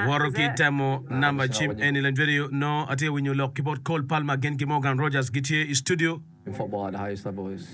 Woto ki temo namba cim eni lany vedio nongo atye ka winyo lok ki bot Cole Palmer gin ki Morgan Rogers gitye i studio. In football at the highest level is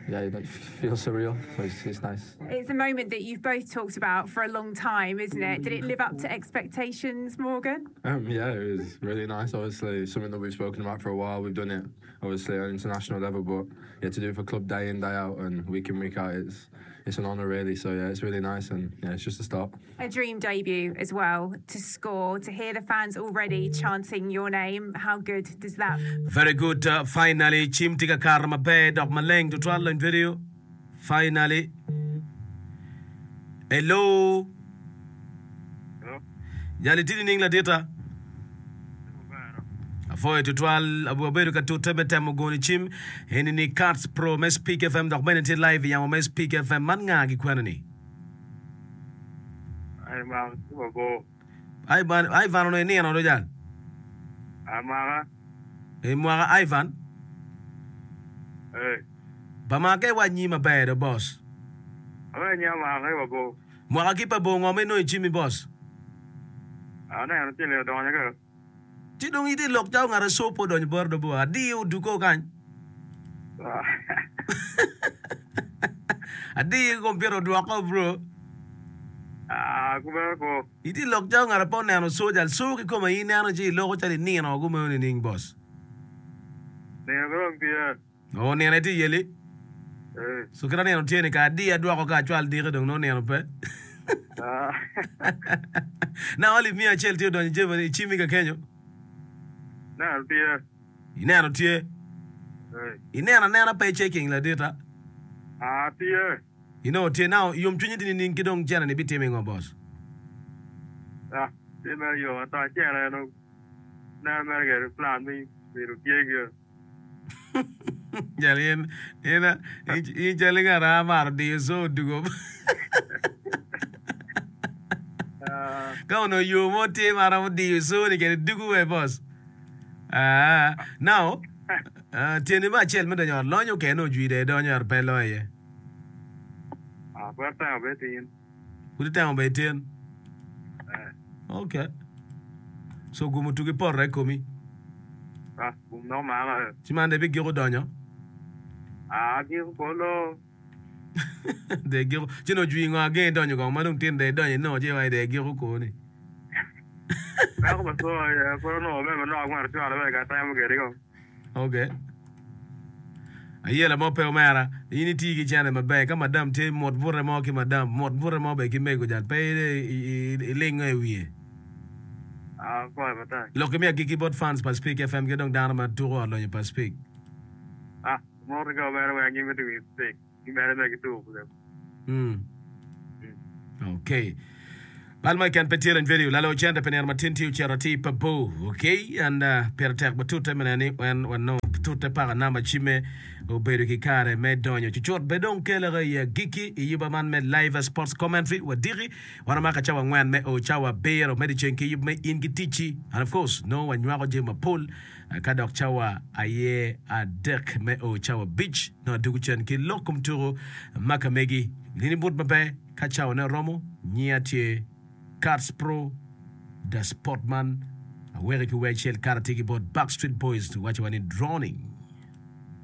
yeah it feels surreal so it's, it's nice. It's a moment that you've both talked about for a long time isn't it? Did it live up to expectations Morgan? Um, yeah it was really nice obviously something that we've spoken about for a while we've done it obviously on international level but yeah to do it for club day in day out and week in week out it's it's an honour really so yeah it's really nice and yeah it's just a start. A dream debut as well to score to hear the fans already chanting your name how good does that. Very good finally cim tye ka kato maber dok maleng tutwal lony video finally hello Jal itye nining ladita? Apwoyo tutwal wabedo ka tute me temo goni cim eni ni Cats Pro me Speak FM dok bene tye live i yamo me Speak FM man nga gi kwena ni? Ivan ki mabor. Ivan, Ivan onongo inino do jal? Amaka. I mwaka Ivan? Eh. Ba maka iwac nyi maber do boss. Awe nyi amaka ki mabor. Mwaka ki pa bor ngo ma inongo i cimmi boss? Aneno ci odonyo ka. Ci dong itye lok calo ngat aco pe odonyo boti do bor. Adiyo oduko kany. Adiyo ki kompiuta odwoko bro. Ah, kumeno ko. Itye lok calo ngat pe oneno soja. Co kikome aye ineno ci iloko calo inino kumeno nining boss? Nino pe dong tye. Oo nino aye tye yeli. Eh. So kit anino tye ni ka adiyo adwoko ka acwal diki dong nongo nino pe. Ah. Now alip miya acel tye odonyo i jebani i cimmi ka kenyo. Neno tye. Ineno tye. Eh. Ineno anena pe checking ladita. Ah tye. Inongo tye. Now yomcwinyi tye nining ki dong cene ni bitimo ingo boss? Ah tye mere yom ata cene dong neno mere kede plan me bedo tye gire. Jal in, in, in cal ngat a maro diyo co odugo. Ka onongo yo mo tye ma romo diyo co ni kede dugo we boss. Ah, now, ah, tyeni me acel me donyo ot lonyo kene ojwi dong idonyo ot pe loyo iye. Ah, pud atemo bene tin. Pud itemo bene tin? Ok. So gum otugi poto i komi. Ah, gum dong omaka. Ci man dong ibigiko donyo? Ah, agiko kolo. Dong igiko. Ci nongo ojwi ngo ageng idonyo kong ma dong tin dong idonyo inongo ci iwaci dong igiko koni. Peko pa co aye pud onongo bene manok ma acwalo bene ka atemo kwede kong. Ok. Ayela mo pe omera, in iti ki cene maber ka madam tye mot bute mo ki madam, mot bute mo bene ki mego jal pe ilingo i wiye. Ah, apwoyo matek. Lok mi agikki bot fans pa Speak FM ki dong dano ma tuko ot lonyo pa Speak. Ah, mot ki omera weng gimito winyo Speak. Gimede mere ki tuko kede. Mm. Okay. Bal mo keken pe tye lany video lalo cente pi nino matin tye ocito atir pa bor. Okay, and uh, pire tek batute me neno ni en wanongo tute paka namba cimme obedo ki kare me donyo cucut be dong keleke i agikki i yuba man me live sports commentary wadiki wan omaka cawa angwen me o cawa abiro me dyeceng ki yub me in ki ticci and of course nongo wanywako jami mapol Ka dok cawa aye adek me o cawa abic, nongo adwogo cen ki lok kom tuko ma ka megi. Nini but maber ka cawane oromo, nyinga tye Kats Pro da Sportman. Aweki ki wer acel kato atye ki bot Backstreet Boys waco wa ni Drowning.